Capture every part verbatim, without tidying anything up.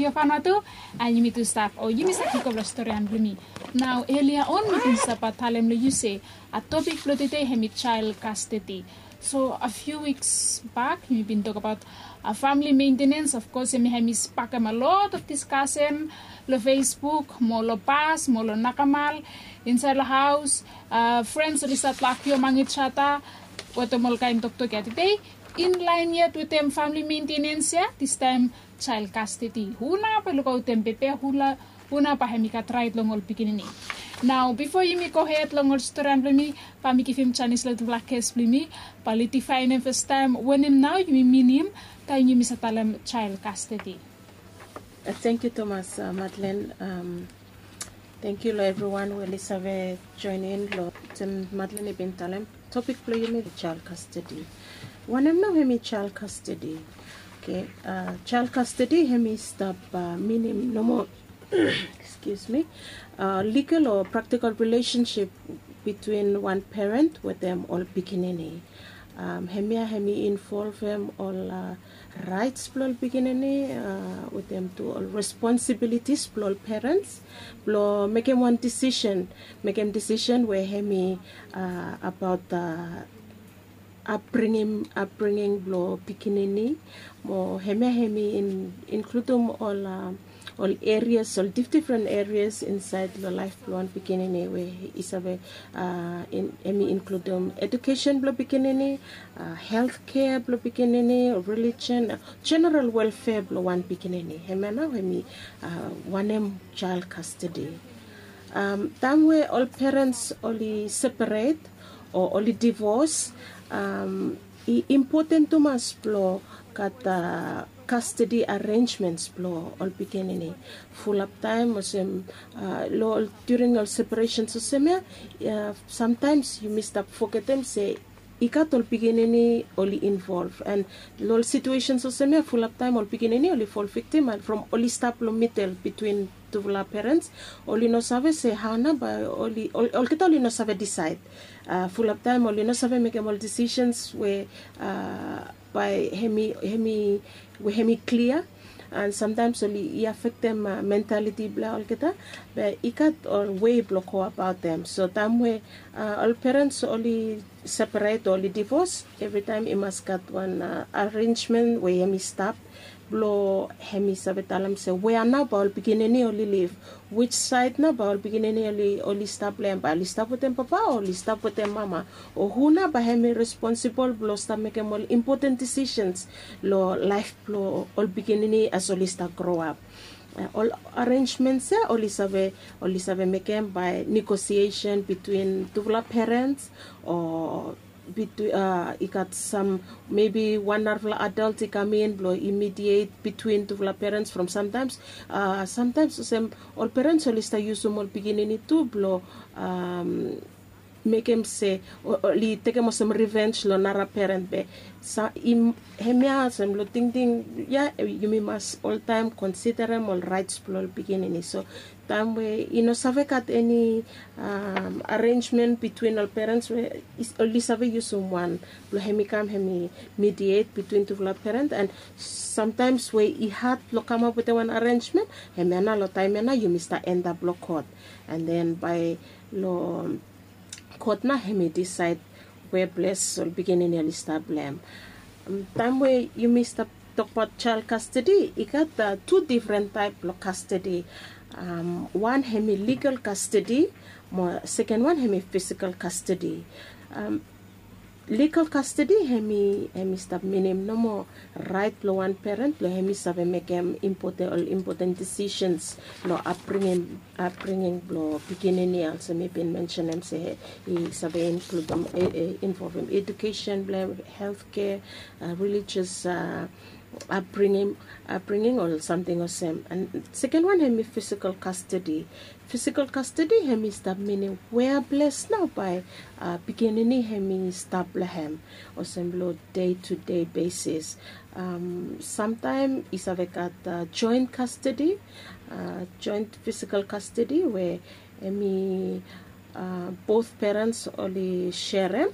Yu fanua tu, a yumi tu stap o yumi save go long storian blong yumi. Nao elia on mi bin stap talem long yu se a topik blong tede hemi child custody. So a few weeks back yumi bin tokbaot a famili maintenance. Of course hemi hemi spakem a lot of discussion long Facebook mo long bas mo long nakamal insaed long haos. A frens oli stat long akiu among each other wetem ol kaen toktok ya tede. In laen yet wetem famili maintenance ya, distaem child custody. Hu nao bae lukaotem bebe? Hu nao bae hemi gat raet long ol pikinini? Nao bifo yumi gohed long ol storian blong yumi, bae mi givim janis long tufala ges blong yumi bae oli difaenem fastaem wanem nao yumi minim taem yumi save talem child custody. Tangkiu tumas Madlen. Tangkiu long evriwan we oli save joenem long wetem Madlen i bin talem. Topik blong yumi child custody. Wanem nao hemi child custody? Oke, child custody hemi stap minim nomo, excuse me, legal o praktikal rilesensip bitwin wan peren wetem ol pikinini. Hemia hemi involvem ol raets blong ol pikinini wetem tu ol responsibilitis blong ol perens blong mekem wan disisen, mekem disisen we hemi abaot upbringing, upbringing blong pikinini. Mo hemia hemi inkludum ol ol erias, ol difdifren erias insaed long laef blong wan pikinini we i save, hemi inkludum edukesen blong pikinini, health kea blong pikinini, relijion, jeneral welfea blong wan pikinini. Hemia nao hemi wanem child custody. Taem we ol perens oli seperet o oli divos, i impoten tumas blong gat custody arrangements blong ol pikinini. Fulap taem olsem long ol during ol separesens olsem ya, samtaems yumi stap fogetem se i gat ol pikinini oli involv. An long ol situesens olsem ya fulap taem ol pikinini oli fol viktim an from oli stap long midel bitwin tufala perens, oli no save se hao nao bae oli, olgeta oli no save disaed. Fulap taem oli no save mekem ol disisens we bae hemi, hemi, we hemi klia. An samtaems oli i afektem mentaliti blong olgeta. Be i gat ol wei blong go abaotem. So taem we ol perens oli seperet o oli divos, evritaem i mas gat wan arenjmen we hemi stap blong hemi save talem se wea nao bae ol pikinini oli liv, wij saed nao bae ol pikinini oli stap long hem, bae oli stap wetem papa o oli stap wetem mama, o hu nao bae hemi responsibol blong stap mekem ol impoten disisens long laef blong ol pikinini as oli stap groap. Ol arenjmens ya oli save, oli save mekem bae negosiesen bitwin tufala perens o i gat sam, mebi wan narafala adol i kam in blong i midiet bitwin tufala perens from samtaems, samtaems olsem ol perens oli stap yusum ol pikinini tu blong mekem se oli tekem olsem rivenj long nara peren. Be hemia olsem long tingting ya yumi mas oltaem konsiderem ol raets blong ol pikinini. So taem we i no save gat eni arenjmen bitwin ol perens we oli save yusum wan blong hemi kam hemi midiet bitwin tufala peren, an samtaems we i had blong kamap wetem wan arenjmen, hemia nao long taem ya nao yumi stap endap long kot. An den bae long kot nao hemi disaed we ples ol pikinini oli stap long hem. Taem we yumi stap tokbaot jael kastedi, i gat tu difren taep blong kastedi. Wan hemi ligal kastedi, mo seken wan hemi fisikal kastedi. Ligal kastedi hemi, hemi stap minim nomo raet blong wan peren blong hemi save mekem impoten, ol impoten disisens long apbringim, apbringing blong pikinini. Olsem mi bin mensenem se i save inkludum, involvim edukesen blong hem, heltkea, relijios apbringing, apbringing ol samting olsem. An seken wan hemi fisikal kastedi. Fisikal kastedi hemi stap minim wea ples nao bae pikinini hemi stap long hem, olsem long dei tu dei besis. Samtaem i save gat joen kastedi, joen fisikal kastedi we hemi bot perens oli serem,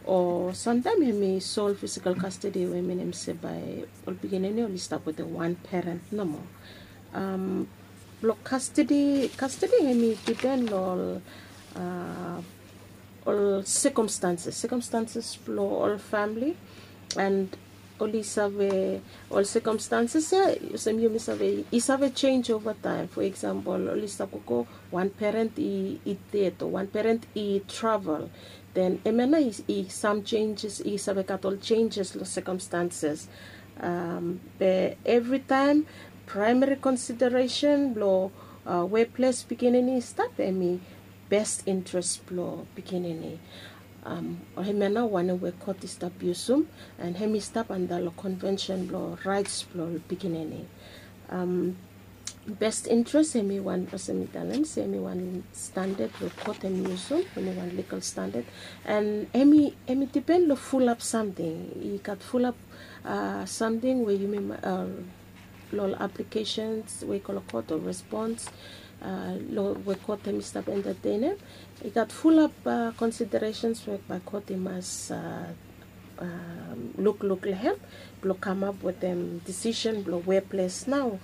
o samtaem hemi sol fisikal kastedi we minim se bae ol pikinini oli stap wetem wan peren nomo. Blong kastedi kastedi hem i dipen long ol ol sekomstanses sekomstanses blong ol famili. And oli save ol sekomstanses ya olsem yumi save i save jenj ova taem. Fo eksampel oli stap gogo wan peren i ded o wan peren i travel. Den hemia nao i sam jenjes i save gat ol jenjes long sekomstanses. Be evritaem praemari konsideresen blong weples pikinini i stap hem i best interes blong pikinini. Hemia nao wanem we kot i stap yusum. And hem i stap antap long konvensen blong raets blong pikinini. Best interes hem i wan olsem mi talem se hem i wan standad we kot hem i yusum, hem i wan ligal standad. And hem i dipen long fulap samting i gat fulap samting we yumi long ol aplikesens we i go long kot o respons long we kot hem i stap entatenem. I gat fulap konsideresens we bae kot i mas lukluk long hem blong kamap wetem disisen blong weples nao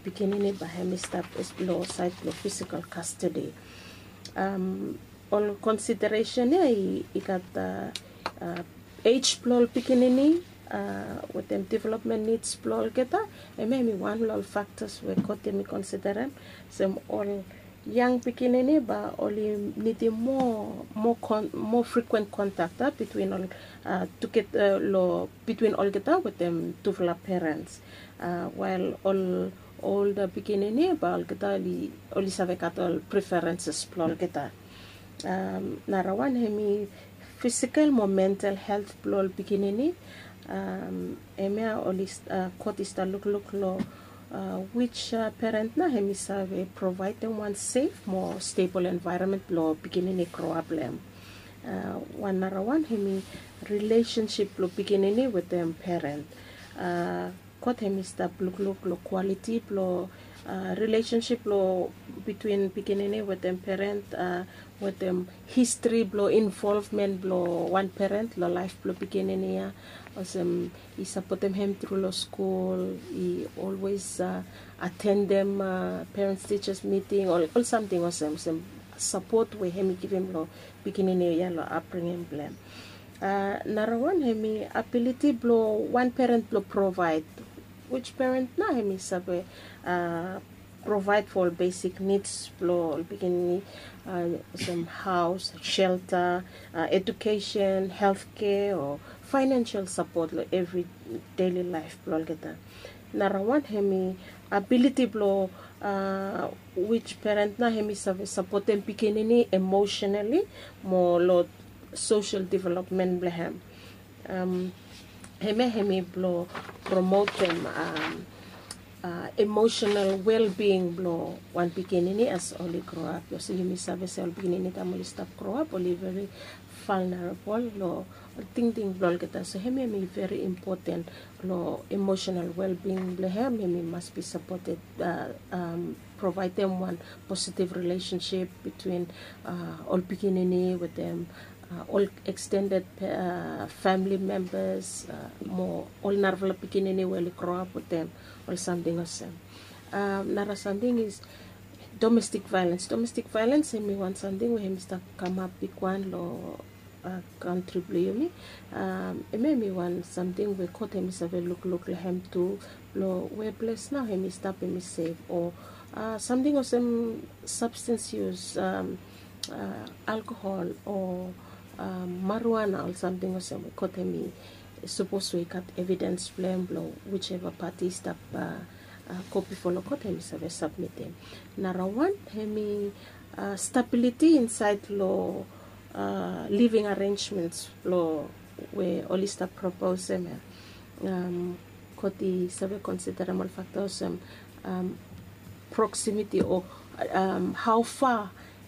pikinini bae hem i stap long saed blong fisikal kastedi. Ol konsideresen ya i gat ej blong ol pikinini wetem developmen nids blong olgeta. Hemia hem i wan long ol faktas we kot hem i konsiderem olsem ol yang pikinini bae oli nidim moa moa frikuen kontak ya bitwin ol tuget long bitwin olgeta wetem tufala perens. Wael ol olda pikinini bae olgeta oli save gat ol preferenses blong olgeta. Narawan hem i fisikal mo mental helt blong ol pikinini. Hemia oli kot i stap lukluk long wij peren nao hem i save provaedem wan sef mo stebol envaeronmen blong pikinini i groap long hem. Wan narawan hem i rilesensip blong pikinini wetem peren. God hem i stap lukluk long kwaliti blong rilesensip blong bitwin pikinini wetem peren, wetem histri blong involvmen blong wan peren long laef blong pikinini ya. Olsem i sapotem hem tru long skul, i olwes atendem perens tijas miting, ol samting olsem olsem sapot we hem i givim long pikinini ya long apringim blong hem. Narawan hem i abiliti blong wan peren blong provaed, wij peren nao hem i save provaed fo ol besik nids blong ol pikinini, olsem haos, shelta, edukesen, heltkea o faenensel sapot long evri deli laef blong olgeta. Narawan hem i abiliti blong wij peren nao hem i save sapotem pikinini emosenali mo long sosel developmen blong hem. Hemia hem i blong promotem emosenal welbing blong wan pikinini as oli groap. Olsem yumi save se ol pikinini taem oli stap groap oli veri valnerabol long ol tingting blong olgeta. So hemia hem i veri impoten long emosenal welbing blong hem, hem i mas bi sapoted, provaedem wan positiv rilesensip bitwin ol pikinini wetem ol ekstended famili membas mo ol narafala pikinini we oli groap wetem, ol samting olsem. Nara samting is domestik vaelens. Domestik vaelens hem i wan samting we hem i stap kamap bigwan long kantri blong yumi. Hemia hem i wan samting we God hem i save lukluk long hem tu, blong we ples nao hem i stap hem i sef o samting olsem sabstens yus, alkohol o marijuana, ol samting olsem we God hem i sapos we i gat evidens blong hem blong wiseva pati i stap go bifo long God hem i save sabmitim. Narawan hem i stabiliti insaed long living arenjmens blong we oli stap proposem ya. God i save konsiderem ol fakta olsem proksimiti o hao fa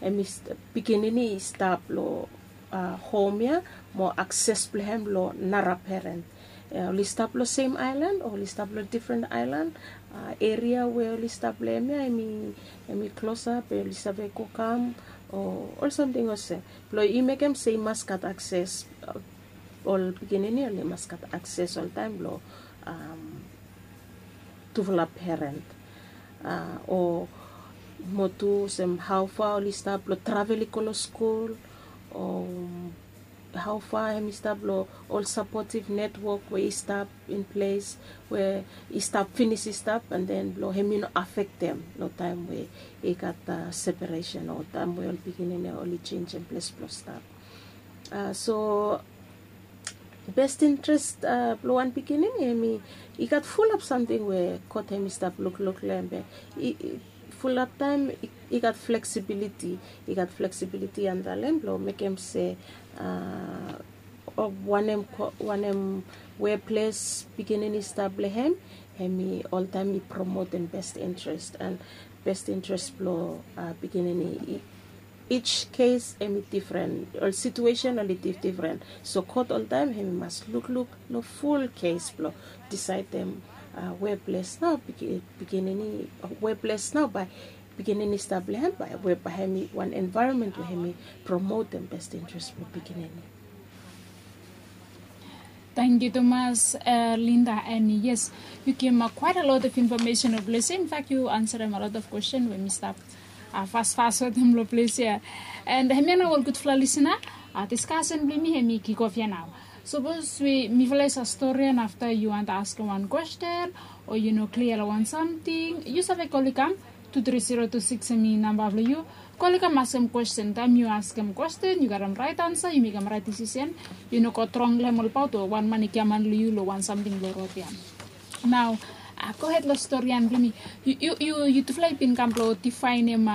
hem i pikinini i stap long hom ya mo akses blong hem long nara peren. Oli stap long sem aelan o oli stap long difren aelan, eria we oli stap long hem ya hem i klosap, oli save go kam o ol samting olsem. Blong i mekem se i mas gat akses, ol pikinini oli mas gat akses oltaem long tufala peren. o mo tu olsem hau fa oli stap long travel i go long skul, o hau fa hem i stap long ol sapotiv netwok we i stap in ples we i stap finis i stap, and then blong hem i no afektem long taem we i gat separesen o taem we ol pikinini oli jenjem ples blong stap. So best interest blong wan pikinini hem i gat fulap samting we kot hem i stap lukluk long hem be fulap taem i gat fleksibiliti i gat fleksibiliti antap long hem blong mekem se wanem wanem weples pikinini i stap long hem hem i oltaem i promotem best interest and best interest blong pikinini. Each kes hem i difren ol situesen oli difdifren. So kot oltaem hem i mas lukluk long ful kes blong disaedem weples nao pikinini weples nao bae pikinini i stap long hem bae we bae hem i wan envaeronmen we hem i promotem best interest blong pikinini. Tangkiu tumas, Linda, and yes, yu givim a quite a lot of information of blessing. In fact, yu answerim a lot of question we mi stap fasfas wetem long ples ya. And hemia nao ol gudfala lisina, diskasen blong mi hem i kikof ya nao. Sapos we mifala i save stori and afta yu wanta askim wan kwesten o yu no klia long wan samting, yu save kol i kam tu tri zero tu siks hem i namba blong yu. Kol i kam askem kwesten. Taem yu askem kwesten yu gatem raet ansa, yu mekem raet disisen. Yu no go trong long hem olbaot o wan man i giaman long yu long wan samting long rod ya. Nao, gohed long storian blong mi. Yutufala i bin kam blong difaenem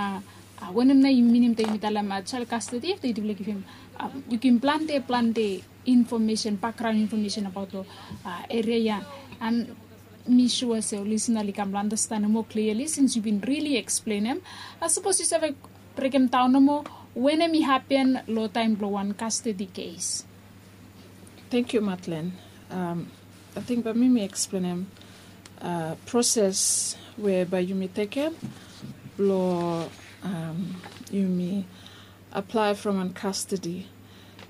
wanem nao i minim taem yumi talem jael kastedi afta yutufala i givim yu givim plante plante infomesen, bakgraon infomesen abaot long eria ya. And mi sua se ol lisina oli kam long andastanem moa kliali sins yu bin rili eksplenem. Sapos yu save brekem daon nomo wanem i hapen long taem blong wan kastedi kes. Tangkiu Matlen. Ating bae mi mi eksplenem proses we bae yumi tekem blong yumi aplae from wan kastedi.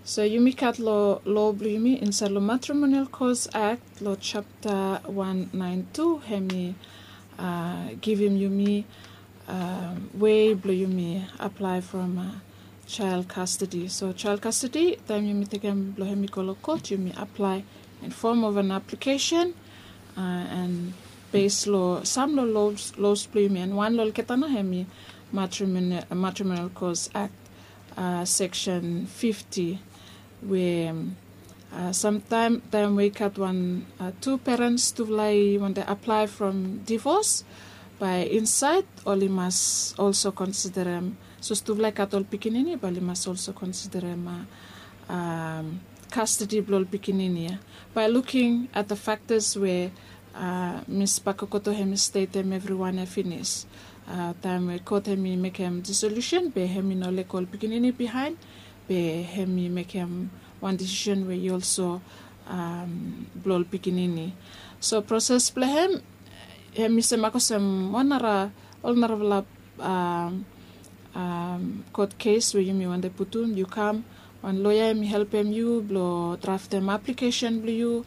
So yumi gat long lo blong yumi insaed long Matrimonial Cause Act long japta wan naen tu hem i givim yumi wei blong yumi aplae from jael kastedi. So jael kastedi taem yumi tekem blong hem i go long kot yumi aplae in fom of an aplikesen and bes long sam long los blong yumi and wan long olgeta nao hem i Matrimonial Cause Act seksen fifti we samtaem taem we i gat wan tu perens tufala i wante aplae from divos bae insaed oli mas olso konsiderem sapos tufala i gat ol pikinini bae oli mas olso konsiderem kastedi blong ol pikinini ya bae luking at the faktas we Mis Bakokoto hem i stetem evriwan ya finis. Taem we kot hem i mekem disolusen be hem i no lego ol pikinini bihaen be hem i mekem wan disisen we i olso blong ol pikinini. So proses blong hem hem i semak olsem wan nara ol narafala kot kes we yumi wante putum yu kam wan loea hem i helpem yu blong draftem aplikesen blong yu.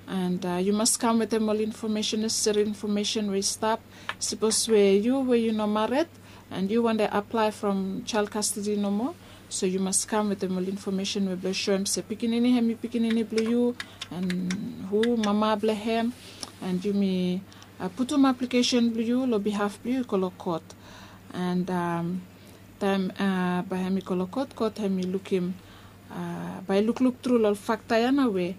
And yu mas kam wetem ol infomesen neseseri infomesen we i stap. Sapos we yu we yu no mared and yu wante aplae from jael kastedi nomo, so yu mas kam wetem ol infomesen we blong soem se pikinini hem i pikinini blong yu and hu mama blong hem. And yumi putum aplikesen blong yu long bihaf blong yu i go long kot. And taem bae hem i go long kot kot hem i lukim bae i lukluk tru long ol fakta ya nao we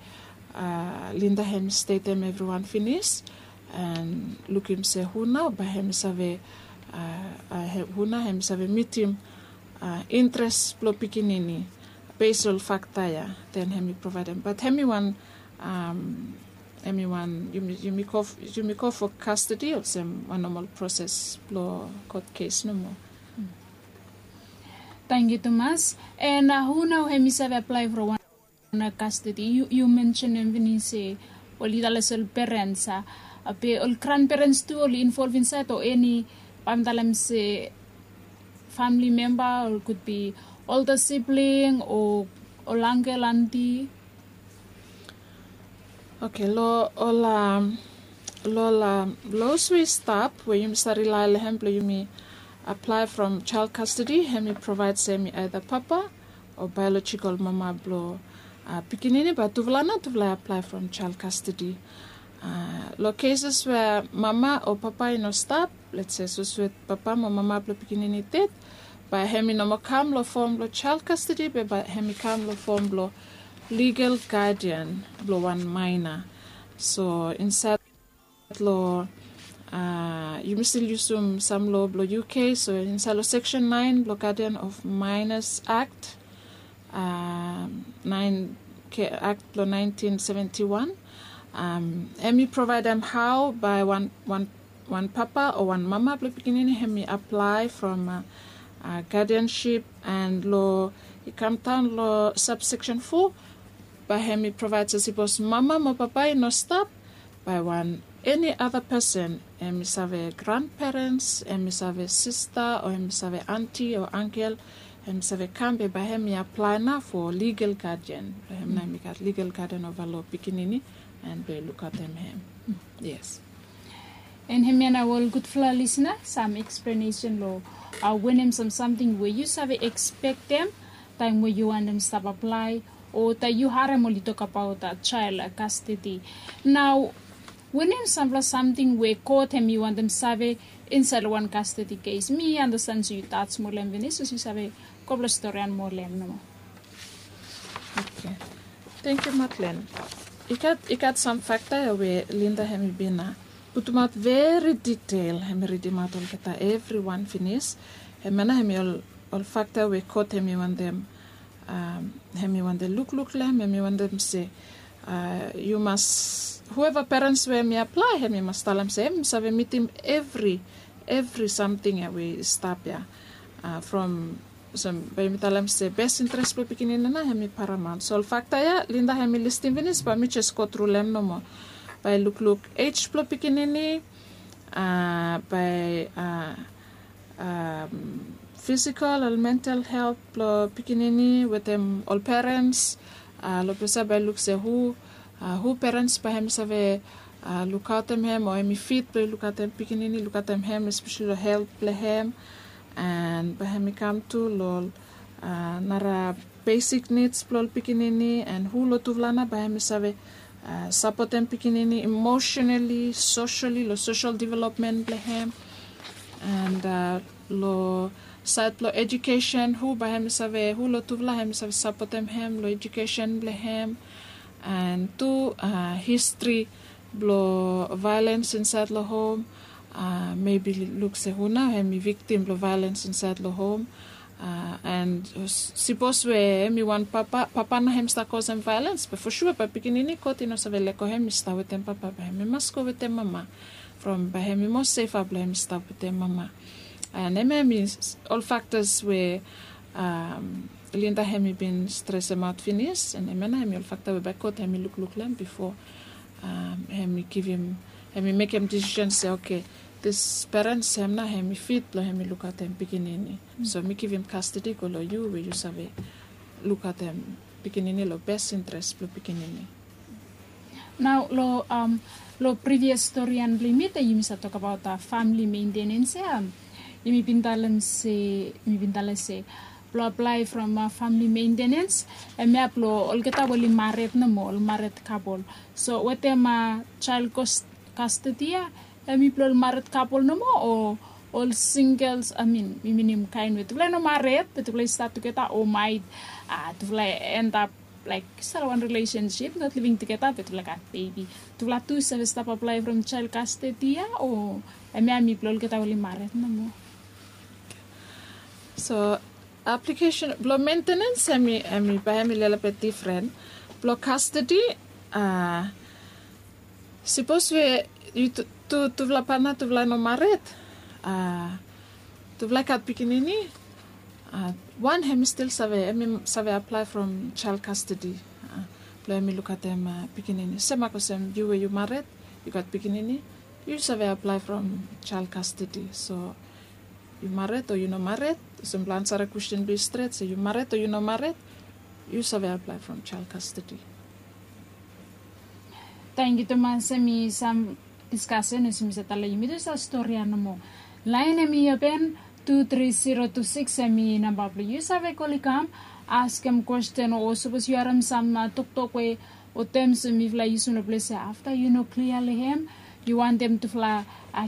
Linda hem i stetem evriwan finis. And lukim se hu nao bae hem i save hu nao hem i save mitim interes blong pikinini bes long ol fakta ya. Den hem i provaedem bat hem i wan hem i wan yumi go fo kastedi olsem wan nomal proses blong kot kes nomo. Tangkiu tumas. And hu nao hem i save aplae from wan kastedi? Yu mensenem finis se oli talem se ol perens a be ol granperens tu oli involv insaed o eni bae mi talem se famili memba o kudbi olda sibling o ol angkel anti. Oke long ol Long ol laws we i stap we yumi save rilae long hem blong yumi aplae from child custody, hem i provaed se hem i aeda papa o biological mama blong pikinini, bae tufala nao tufala i aplae from child custody. Long cases we mama o papa i no stap, let's say sapos we papa mo mama blong pikinini i ded, bae hem i no moa kam long fom blong child custody be bae hem i kam long fom blong legal guardian blong wan minor. So insaed long, yumi stil yusum sam loa blong UK, so insaed long section naen blong Guardian of Minors Act, naen, Act blong naentin seventi wan, hem i provaedem hao bae wan papa o wan mama blong pikinini hem i aplae from guardianship. And long, i kamdaon long subsection fo, bae hem i provaed se sapos mama mo papa i no stap, bae wan eni ada pesen, hem i save granperens, hem i save sista, o hem i save anti o angkel, hem i save kam be bae hem i aplae nao fo legal guardian blong hem nao hem i gat legal guardian ova long pikinini, and blong i lukaotem hem. Yes. And hemia nao ol gudfala lisna, sam eksplanesen long wanem sam samting we yu save ekspektem taem we yu wantem stap aplae, o taem yu harem oli tokbaot child custody. Nao wanem sampela samting we kot hem i wantem save insaed long wan custody kes? Mi andasten se yu tas moa long hem finis, sapos yu save go blong storian moa long hem nomo. Oke. Tangkiu Matlen. I gat, i gat sam fakta ya we Linda hem i bin putumaot veri detael, hem i ridimaot olgeta evriwan finis. Hemia nao hem i ol, ol fakta we kot hem i wantem, hem i wantem lukluk long hem, hem i wantem se yu mas, hueva perens we hem i aplae, hem i mas talem se hem i save mitim evri, evri samting ya we i stap ya. From, olsem bae yumi talem se bes interes blong pikinini nao hem i paramaon. So ol fakta ya Linda hem i listim finis, bae mi jes go tru long hem nomo. Bae lukluk ej blong pikinini, bae fisikol o mental helt blong pikinini wetem ol perens. Long ples ya bae luk se hu, hu perens bae hem i save lukaotem hem, o hem i fit blong i lukaotem pikinini, lukaotem hem espeseli long helt blong hem. And bae hem i kam tu long ol nara besik nids blong ol pikinini, and hu long tufala nao bae hem i save sapotem pikinini emosenali, sosali, long sosal developmen blong hem. And long saed blong ejukesen, hu bae hem i save, hu long tufala hem i save sapotem hem long ejukesen blong hem. And tu histri blong vaelens insaed long hom, mebi luk se hu nao hem i viktim blong vaelens insaed long hom. And sapos we hem i wan papa, papa nao hem i stap kosem vaelens, be fosua bae pikinini kot i no save lego hem i stap wetem papa, bae hem i mas go wetem mama. From bae hem i moa sefa blong hem i stap wetem mama. And hemia hem i ol faktas we Linda hem i bin stresemaot finis, and hemia nao hem i ol fakta we bae kot hem i lukluk long hem bifo hem i givim, hem i mekem disisen se oke, dis perens hem nao hem i fit blong hem i lukaotem pikinini. So mi givim kastedi go long yu we yu save lukaotem pikinini long bes interes blong pikinini. Nao long, long privias storian blong yumi, taem yumi save tokbaot famili mentenens ya, yumi bin talem se, yumi bin talem se blong aplae from famili mentenens, hemia blong olgeta we oli mared nomo, ol mared kapol. So wetem child kastedi ya, hem i blong ol mared kapol nomo, o ol singels, I mean, mi minim kaen we tufala i no mared be tufala i stap tugeta, o maet tufala i endap laek stap long wan rilesensip, not living tugeta be tufala i gat bebi. Tufala tu i save stap aplae from child kastedi ya, o hemia hem i blong olgeta we oli mared nomo? So aplikesen blong mentenens hem i, hem i bae hem i lelebet difren. Blong kastedi, sapos we yu tu, tufala patna tufala i no mared, tufala i gat pikinini, wan hem i stil save, hem i save aplae from child kastedi blong hem i lukaotem pikinini. Semak olsem yu we yu mared, yu gat pikinini, yu save aplae from child kastedi. So yu mared o yu no mared, olsem blong ansarem kwestin blong yu stret se yu mared o yu no mared, yu save aplae from child kastedi. Tangkiu tumas, hem i sam Diskasen olsem mi save talem long yumi tu, save stori ya nomo. Laen hemi open, tu tri zero tu sikis hemi namba blong yu. Yu save kol i kam, askem kwesten, o sapos yu harem sam toktok we o tems we mifala i yusum long ples ya, afta yu no klia long hem, yu wantem tufala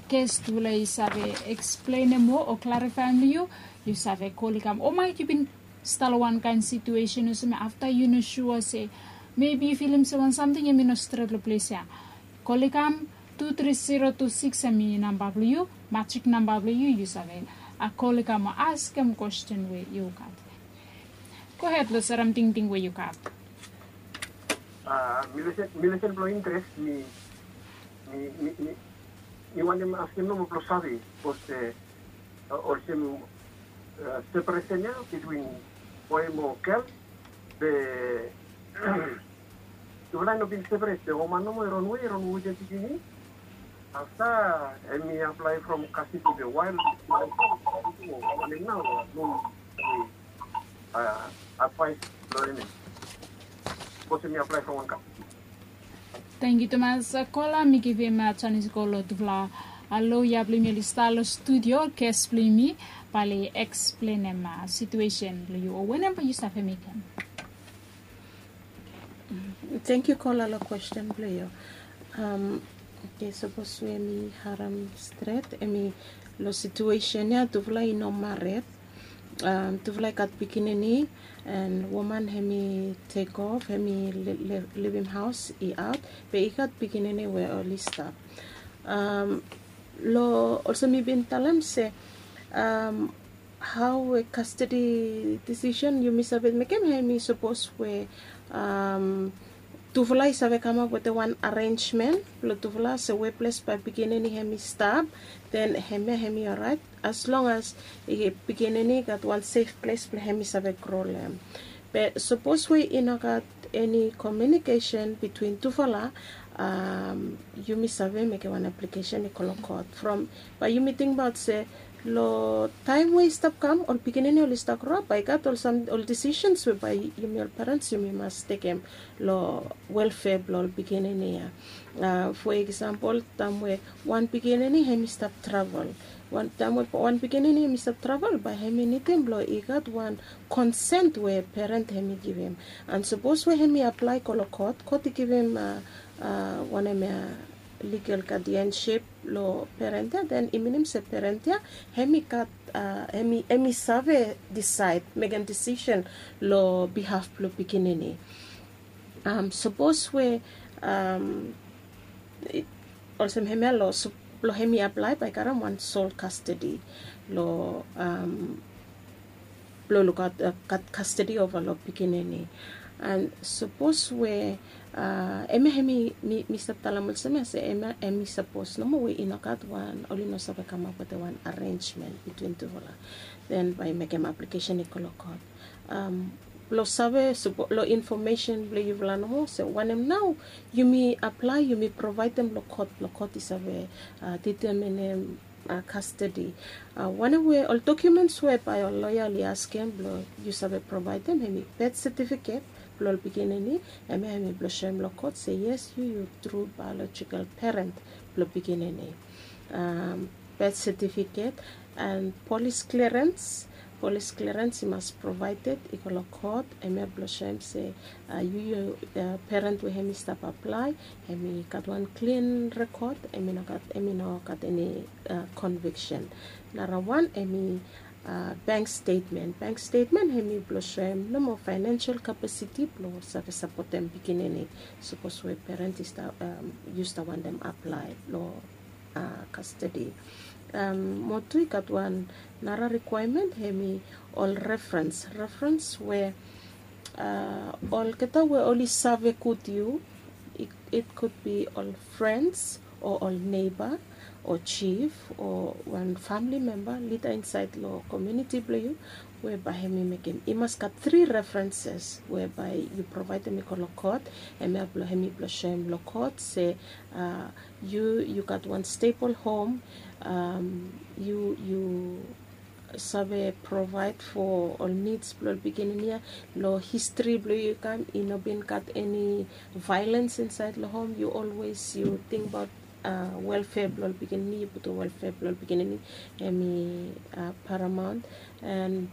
gest tufala i save eksplenem moa o klarifaem long yu, yu save kol i kam. O maet yu bin stap long wan kaen situesen olsem ya, afta yu no sua se mebi yu filim se wan samting hemi no stret long ples ya. Kol i kam, tu tri zero tu sikis hemi namba blong yu, majik namba blong yu, yu save kol i kam o askem kwesten we yu gat. Gohed long serem tingting we yu gat. Mi lesen blong interes, mi wantem askem nomo blong save, bikos olsem separesen ya bitwin boe mo gel, be tufala i no bin separet, be woman nomo i ronwe, i ronwe wetem pikinini. Afta hemi aplae from kastedi, be wael wanem nao, no advaes blong hem ya, bikos hemi aplae from wan kastedi. Tangkiu tumas kola. Mi givim janis go long tufala loya blong yumi oli stap long studio, ges blong yumi bae oli eksplenem situesen blong yu o wanem bae yu save mekem. Tangkiu kola long kwesten blong yu. Oke, sapos we mi harem stret, hemi long situesen ya tufala i no mared, tufala i gat pikinini, and woman hemi tek of, hemi livim haos i aot, be i gat pikinini we oli stap. Long olsem mi bin talem se hao we kastedi disisen yumi save mekem, hemi sapos we tufala i save kamap wetem wan arenjmen blong tufala, se we ples bae pikinini hemi stap, den hemia hemi oraet, as long as pikinini i gat wan sef ples blong hemi save gro long hem. Be sapos we i no gat eni komiunikesen bitwin tufala, yumi save mekem wan aplikesen i go long kot. From bae yumi tingbaot se long taem we i stap kam, ol pikinini oli stap groap, bae i gat ol disisens we bae yumi ol perens yumi mas tekem long welfea blong ol pikinini ya. Fo eksampol, taem we wan pikinini hemi stap travel, taem we wan pikinini hemi stap travel, bae hemi nidim blong i gat wan konsen we peren hemi givim. And sapos we hemi aplae go long kot, kot i givim wanem ya, ligal gadienship long peren ya, den i minim se peren ya hemi gat, hemi save disaed, mekem disisen long bihaf blong pikinini. Sapos we olsem hemia, long hemi aplae bae i karem wan sol kastedi long, blong lukaot, gat kastedi ova long pikinini. And sapos we hemia, hemi, mi stap talem olsem ya se hemia hemi sapos nomo we i no gat wan, oli no save kamap wetem wan arenjmen bitwin tufala, den bae i mekem aplikesen i go long kot. Blong save, long infomesen blong yufala nomo se wanem nao yumi aplae, yumi provaedem long kot, blong kot i save diteminim kastedi. Wanem we ol dokiumens we bae ol loya oli askem blong yu save provaedem, hemi bet setifiket blong ol pikinini, hemia hemi blong soem long kot se yes, yu yu tru baeolojikal peren blong pikinini. Bet setifiket and polis klerens. Polis klerens i mas provaeded i go long kot, hemia blong soem se yu, yu peren we hemi stap aplae, hemi gat wan klin rekod, hemi no gat, hemi no gat eni konviksen. Narawan hemi bank stetmen. Bank stetmen hemi blong soem nomo faenensel kapasiti blong save sapotem pikinini, sapos we peren i stap, yu stap wantem aplae long kastedi. Mo tu i gat wan nara rikwaemen, hemi ol referens. Referens we olgeta we oli save gud yu, it could be ol frens o ol neiba o jif o wan famili memba, lida insaed long komuniti blong yu, we bae hemi mekem, i mas gat tri referenses we bae yu provaedem i go long kot. Hemia blong, hemi blong soem long kot se yu, yu gat wan stebol hom, yu, yu save provaed fo ol nids blong ol pikinini ya. Long histri blong yu i kam, i no bin gat eni vaelens insaed long hom, yu olwes yu tingbaot welfare blong ol pikinini, yu putum welfare blong ol pikinini hemi paramount. And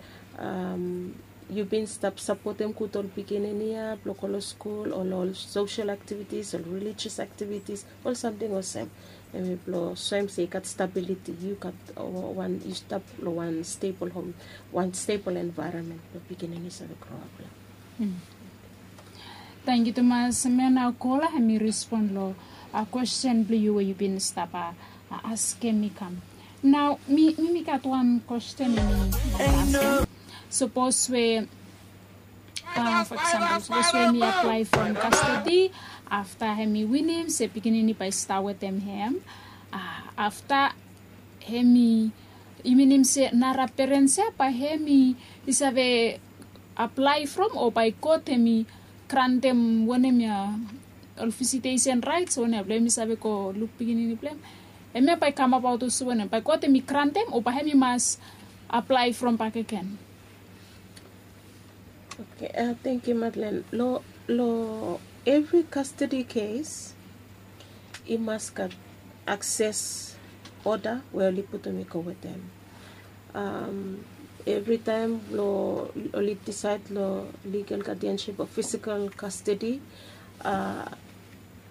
yu bin stap sapotem gud ol pikinini ya blong go long skul, ol ol social activities, ol religious activities, ol samting olsem. Hemi blong soem se i gat stability, yu gat wan, yu stap long wan stable home, wan stable environment blong pikinini save grow up long. Tangkiu tumas. Hemia nao kola hemi respon long kwesten blong yu we yu bin stap askem mi kam. Nao mi mi gat wan kwesten. Sapos we for example, sapos we hemi aplae from kastedi, afta hemi winim se pikinini bae i stap wetem hem, afta hemi, i minim se nara perens ya bae hemi i save aplae from, o bae kot hemi grantem wanem ya, ol visitesen raets wanem ya blong hemi save go luk pikinini blong hem? Hemia bae i kamabaot olsem wanem? Bae kot hemi grantem o bae hemi mas aplae from bakegen? Okay, tangkiu Madlen. Long evri kastedi kes i mas gat akses oda we oli putum i go wetem. Evritaem long oli disaed long ligal gadianship o fisikal kastedi,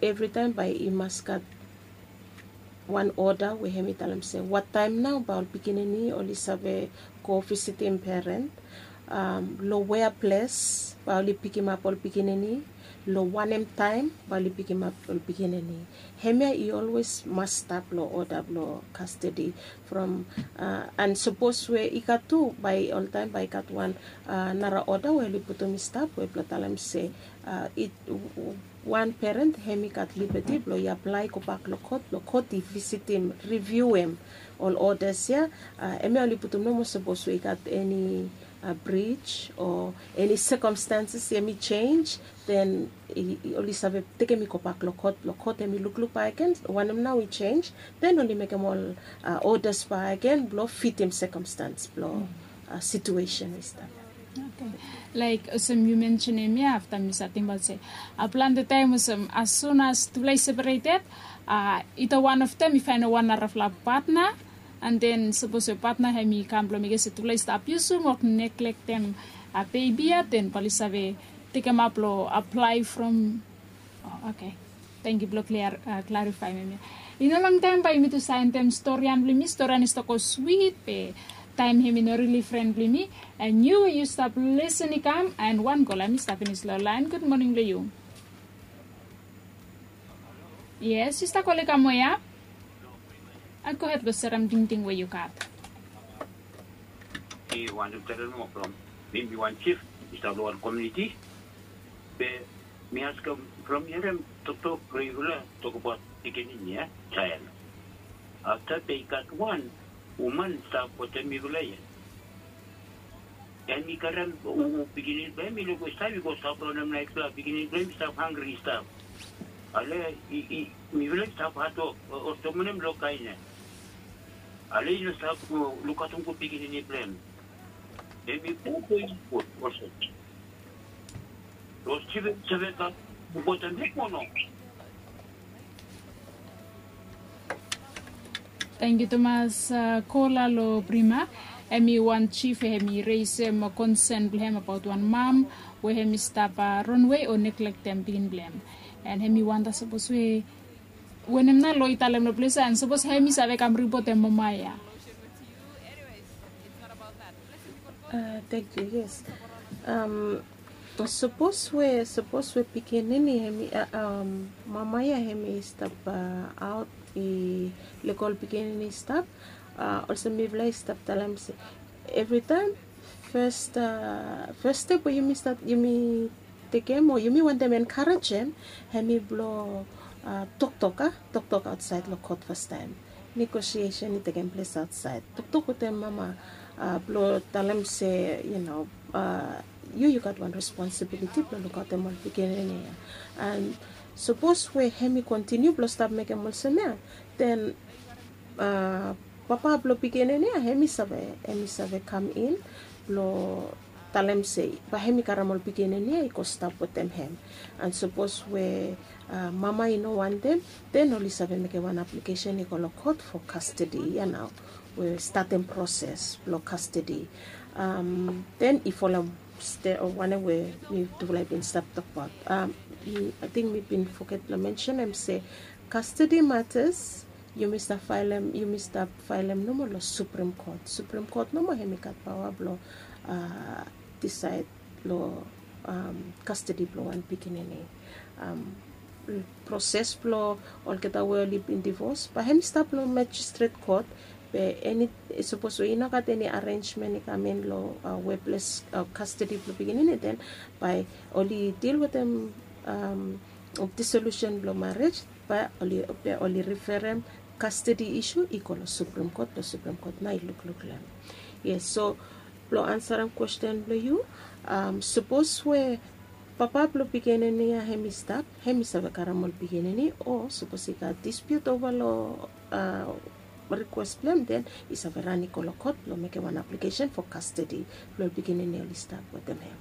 evritaem bae i mas gat wan oda we hemi talem se wataem nao bae ol pikinini oli save go visitim peren, long wea ples bae oli pikimap ol pikinini, long wanem taem bae oli pikimap ol pikinini. Hemia i olwes mas stap long oda blong kastedi from. And sapos we i gat tu bae oltaem bae i gat wan nara oda we oli putum i stap we blong talem se wan peren hemi gat libeti blong i aplae gobak long kot blong kot i visitim, riviuem ol odas ya. Hemia oli putum nomo sapos we i gat eni brij o eni sekomstanses hemi jenis, den oli save tekem i gobak long kot blong kot hemi lukluk bakegen wanem nao i jenis, den oli mekem ol odas bakegen blong fitim sekomstans blong situesen i stap. Laek olsem yu mensenim ya, afta mi save tingbaot se plante taem olsem as sun as tufala i separeted, ita wan of dem i faenem wan narafala patna, and then sapos we patna hemi kam blong mekem se tufala i stap abiusum o neglektem bebi ya, then bae oli save tekemap long aplae from. Oh, okay. Tangkiu blong klarifaem hemia. I no longtaem bae yumi tu save endem storian blong yumi. Storian i stap go swit be taem hemi no rili fren blong yumi. And yu, yu stap lisin i kam, and wan kola hemi stap finis long laen. Gud moning long yu. Yes, yu stap kolem i kam we ya. Gohed blong serem tingting we yu gat. Mi wantem talem nomo from mi, mi wan jif mi stap long wan komuniti. Be mi askem from mi harem toktok blong yufala tokbaot pikinini ya, jael. Afta be i gat wan woman stap wetem mifala ya. Hemi karem pikinini blong hem i luk we stap i go stap long hem naetfala, pikinini blong hem i stap hanggri i stap. Ale i mifala i stap hatwok olsem wanem long kaen ya. Ale i no stap lukaotem gud pikinini blong hem. Hemi go go i gud olsem. Los jiven save kam lukaotem hem o no? Tangkiu tumas. Kola long Brima, hemi wan jif we hemi resem konsen blong hem abaot wan mam we hemi stap ronwe o neglektem pikinini blong hem. And hemi wanda sapos we wanem nao lo i talem long ples ya, and sapos hemi save kam ripotem mama ya. Tangkiu. Yes. Sapos we, sapos we pikinini hemi, mama ya hemi stap aot i lego ol pikinini i stap, olsem mifala i stap talem se evritaem fes, fes step we yumi stap, yumi tekem o yumi wantem enkarejem, hemi blong toktok, a toktok aotsaed long kot fastaem. Negosiesen i tekem ples aotsaed. Toktok wetem mama blong talem se, yu no, yu yu gat wan responsibiliti blong lukaotem ol pikinini ya. And sapos we hemi kontiniu blong stap mekem olsem ya, then papa blong pikinini ya hemi save, hemi save kam in blong talem se bae hem i karem ol pikinini ya i go stap wetem hem. And sapos we mama i no wantem, then oli save mekem wan aplikesen i go long kot fo kastedi ya nao, we statem proses blong kastedi. Then i folem wanem we mitufala i bin stap tokbaot. Ating mi bin foget blong mensenem se kastedi matas yumi stap faelem yumi stap faelem nomo long Supreme Kot. Supreme Kot nomo hem i gat paoa blong disaed long kastedi blong wan pikinini. Proses blong olgeta we oli bin divos bae hem i stap long majistret kot. Be eni sapos we i no gat eni arenjmen i kam in long weples kastedi blong pikinini, then bae oli dil wetem disolusen blong marej, bae oli riferem kastedi isu i go long Supreme Kot, long Supreme Kot nao i lukluk long hem. Yes, so blong ansarem kwesten blong yu, sapos we papa blong pikinini ya hem i stap, hem i save karem ol pikinini, o sapos i gat dispiut ova long rikwes blong hem, then i save ran i go long kot blong mekem wan aplikesen fo kastedi blong ol pikinini oli stap wetem hem.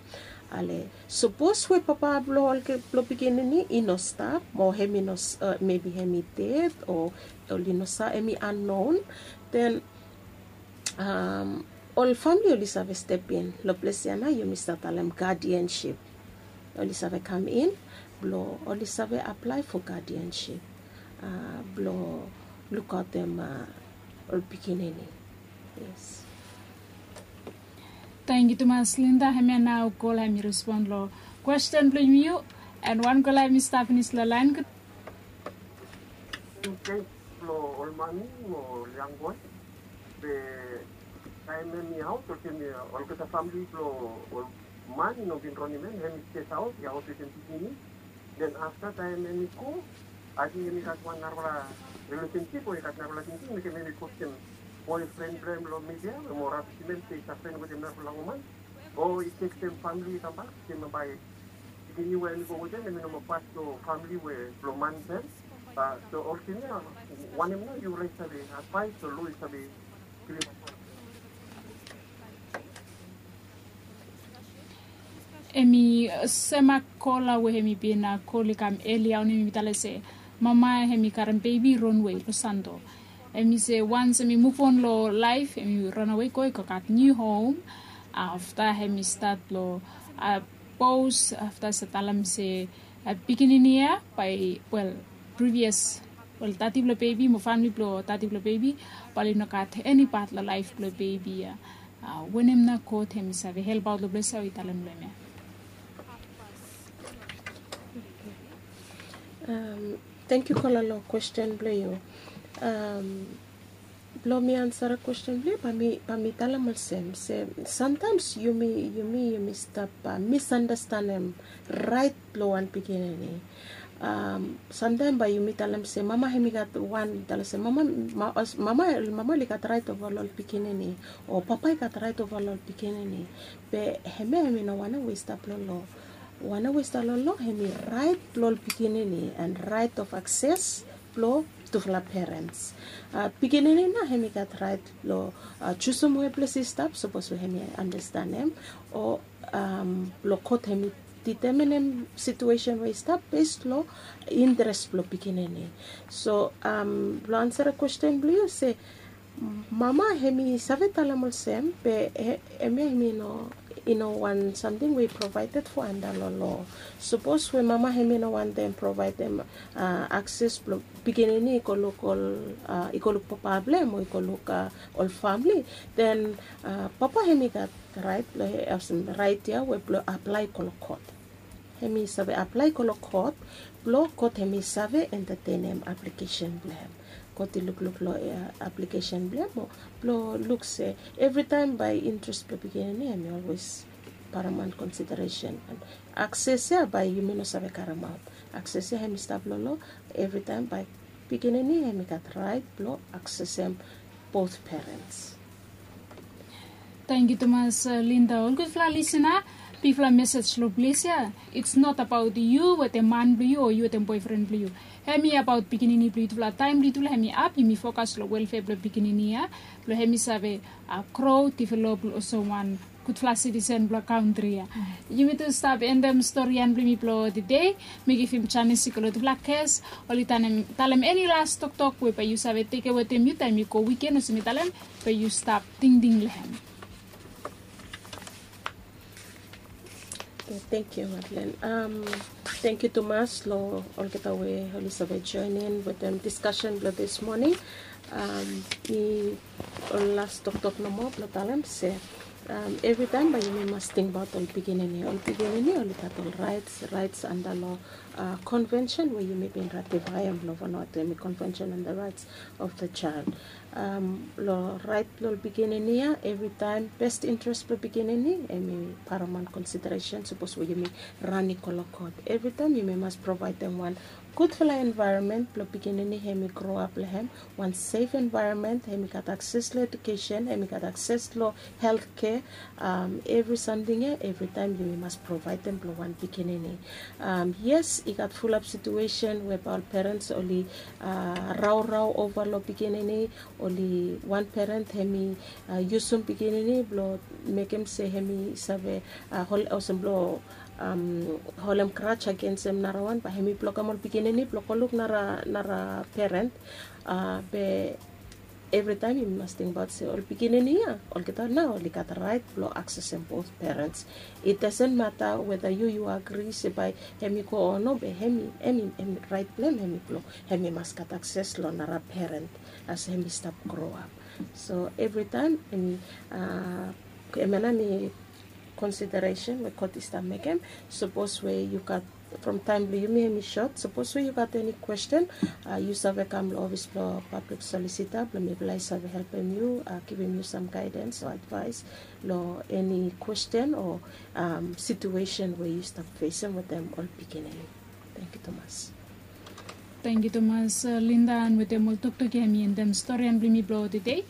Ale sapos we papa blong ol blong pikinini i no stap, mo hem i no mebi hem i ded o oli no sa hem i annon, then ol famili oli save stepin long ples ya nao yumi stap talem gadiansip. Oli save kam in blong oli save aplae fo gadiansip blong lukaotem ol pikinini. Yes. Tangkiu tumas Linda, hemia nao gola hem i respon long kwesten blong yumi. An wan gola hem i stap finis long laen. Thanks long ol mami mo ol yang boe. Be taem em i aot olsem olgeta famili blong ol man i no bin ronim em, hem i stes aot i aot wetem pikinini. Den afta taem em i go, ating em i gat wan narafala rilesensip o i gat narafala tingting mekem em i postem boefren blong em long midia mo rabisim em se i stap fren wetem narafala woman, o i tekstem famili i kambak se bae pikinini we em i go wetem em i no moa pas long famili we blong man blong em. So olsem ya, wanem nao yu laik save advaes o lo yu save givim? Hem i sem a kola we hem i bin kol i kam elia onim, hem i talem se mama hem i karem bebi i ronwe long sando. Hem i se wans hem i muvon long laef hem i ranawe go i go gat niu hom. Afta hem i stat long pos afta se talem se pikinini ya bae, wel, privias, wel, dadi blong bebi mo famili blong dadi blong bebi bae oli no gat eni pat long laef blong bebi ya. Wanem nao God hem i save helpaot long ples ya we i talem long hem ya? Tangkiu kola long kwesten blong yu. Blong mi ansarem kwesten blong yu, bae mi talem olsem se samtaems yumi yumi yumi stap misandastanem raet blong wan pikinini. Samtaem bae yumi talem se mama hem i gat wan, talem se mama mama mama oli gat raet ova long ol pikinini, o papa i gat raet ova long ol pikinini. Be hemia hem i no wanem we i stap long lo. Wanem we i stap long lo hem i raet blong ol pikinini an raet of akses blong tufala perens. Pikinini nao hem i gat raet blong jusum we ples i stap sapos we hem i andastanem, o blong kot hem i diteminem situesen we i stap bes long interes blong pikinini. So blong ansarem kwesten blong yu se mama hem i save talem olsem be hemia hem i no i no wan samting we i provaeded fo anda long lo. Sapos we mama hem i no wantem provaedem akses blong pikinini i go luk ol i go luk papa blong hem o i go luk ol famili, den papa hem i gat raet blong olsem raet ya we blong aplae go long kot. Hem i save aplae go long kot blong kot hem i save entatenem aplikesen blong hem. Kot i lukluk long aplikesen blong hem o blong luk se evritaem bae interes blong pikinini hem i olwes paramaunt konsideresen. Akses ya bae yumi no save karemaot. Akses ya hem i stap long lo, evritaem bae pikinini hem i gat raet blong aksesem both perens. Tangkiu tumas Linda. Ol gudfala lisina, Bigfala mesej long ples ya, it's not about yu wetem man blong yu o yu wetem boefren blong yu. Hemi about pikinini blong yutufala. Taem blong yutufala hemi ap, yumi fokas long welfea blong pikinini ya, blong hemi save gro, develop olsem wan gudfala sitisen blong kantri ya. Yumi tu stap endem storian blong yumi blong tede. Mi givim janis i go long tufala ges, oli talem eni las toktok we bae yu save tekem wetem yu taem yu go wiken olsem mi talem, bae yu stap tingting long hem. Thank you, Madeleine. Um, thank you tumas long olgeta we oli save join in wetem discussion blong this morning. Um, mi ol las toktok nomo blong talem se, um, evritaem bae yumi mas tingbaot ol pikinini. Ol pikinini oli gat ol raets, raets anda long uh, convention we yumi bin ratifaem long Vanuatu, hemi Convention on the Rights of the Child. Um, long raet blong pikinini ya, evritaem best interest blong pikinini hemi paramount consideration sapos we yumi ran i go long kot. Evritaem yumi mas provaedem wan gudfala envaeronmen blong pikinini hemi groap long hem, wan sef envaeronmen, hemi gat akses long edukesen, hemi gat akses long health kea. Um, evri samting ya, evritaem yumi mas provaedem blong wan pikinini. Um, yes, i gat fulap situesen we bae ol perens oli uh, raorao ova long pikinini, oli wan peren hemi uh, yusum pikinini blong mekem se hemi save uh, hol, olsem blong um, holem grudge agensem narawan, bae hemi blokem ol pikinini blong go luk nara, nara peren. Uh, be evritaem yumi mas tingbaot se ol pikinini ya, olgeta nao oli gat raet blong aksesem both perens. It doesn't matter whether yu, yu agri se bae hemi go o no, be hemi, hemi, hemi raet blong hem hemi blong hemi mas gat akses long nara peren as hemi stap groap. So evritaem hemi, uh, hemia nao hemi consideration we kot i stap mekem. Sapos we yu gat, from taem blong yumi hemi sot, sapos we yu gat eni kwesten, uh, yu save kam long ofis blong pablik solisita blong mifala i save helpem yu, uh, givim yu sam gaedens o advaes long eni kwesten o um, situesen we yu stap fesem wetem ol pikinini. Thank you tumas. Thank you tumas, uh, Linda, and wetem ol toktok ya mi endem storian blong mi blong tede.